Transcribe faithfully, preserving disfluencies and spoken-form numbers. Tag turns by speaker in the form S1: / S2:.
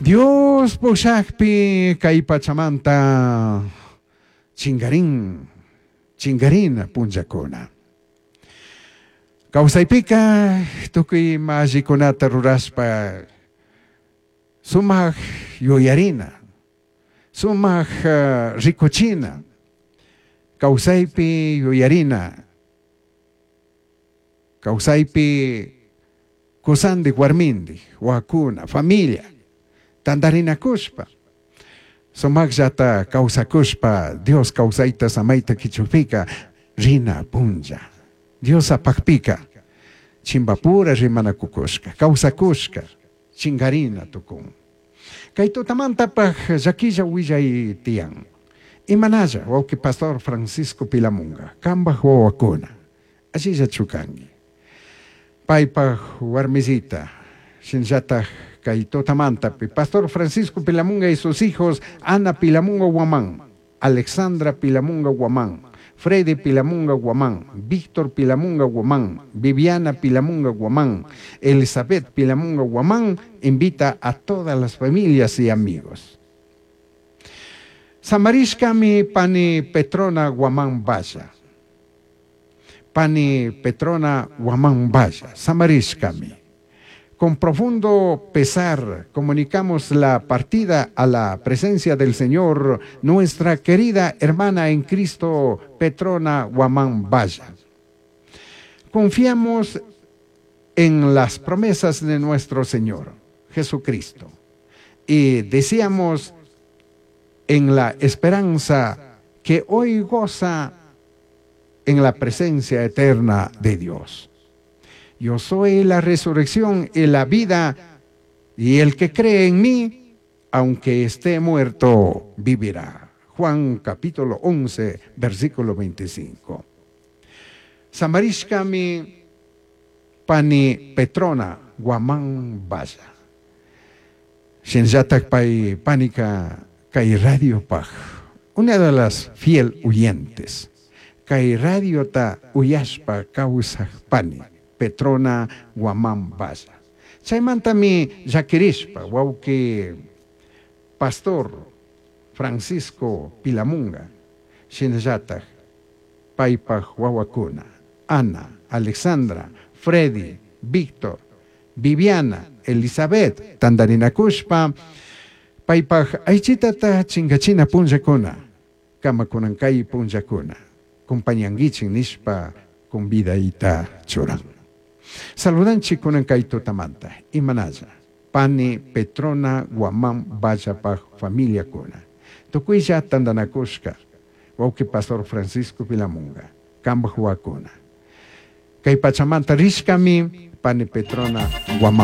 S1: Dios pushakpi kay pachamanta chingarin, chingarina punllakuna. Kawsaypika tukuy ima allikunata rurashpa sumak yuyarina, sumak uh, rikuchina, kawsaypi yuyarina, kawsaypi kusandik warmindik, wakuna, familia, tantarinakushpa, sumakllata kawsakushpa Dios kawsayta samayta kichukpika rina punlla. Dios apakpika chimbapura rimanakukushka, kawsakushka, chingarina tukun. Kay tutamantapaj llakilla willay tiyan. Imanalla, wawki pastor Francisco Pilamunga, kambaj wawakuna, allilla chukanki. Paypaj warmisita, shinallataj kay tutamantapi, pastor Francisco Pilamunga y sus hijos, Ana Pilamunga Guamán, Alexandra Pilamunga Guamán, Freddy Pilamunga Guamán, Víctor Pilamunga Guamán, Viviana Pilamunga Guamán, Elizabeth Pilamunga Guamán, invita a todas las familias y amigos. Samarishkami pani Petrona Guamán Valla. Pani Petrona Guamán Valla, Samarishkami. Con profundo pesar comunicamos la partida a la presencia del Señor, nuestra querida hermana en Cristo, Petrona Guamán Valla. Confiamos en las promesas de nuestro Señor Jesucristo y deseamos en la esperanza que hoy goza en la presencia eterna de Dios. Yo soy la resurrección y la vida, y el que cree en mí, aunque esté muerto, vivirá. Juan capítulo once, versículo veinticinco. Samarishkami pani Petrona Guamán Valla. Shinallatak pay panika kay radio paj, una de las fiel oyentes. Kay radio ta uyashpa kawsaj pani Petrona Guamán Valla. Chaymantami llakirishpa wawki pastor Francisco Pilamunga, shinallataj paypaj wawakuna, Ana, Alexandra, Freddy, Víctor, Viviana, Elizabeth, tantarinakushpa paypaj aychitata chinkachina punllakuna, kamakunankay punllakuna, compañanguichin nishpa convidayta churan. Saludanchik kunankay tutamanta, imanalla, pani Petrona Guamán Vallapaj familiakuna. Tukuylla tantanakushka, wawki pastor Francisco Pilamunga, kambaj wakuna. Kay pachamanta rishkami pani Petrona Guamán.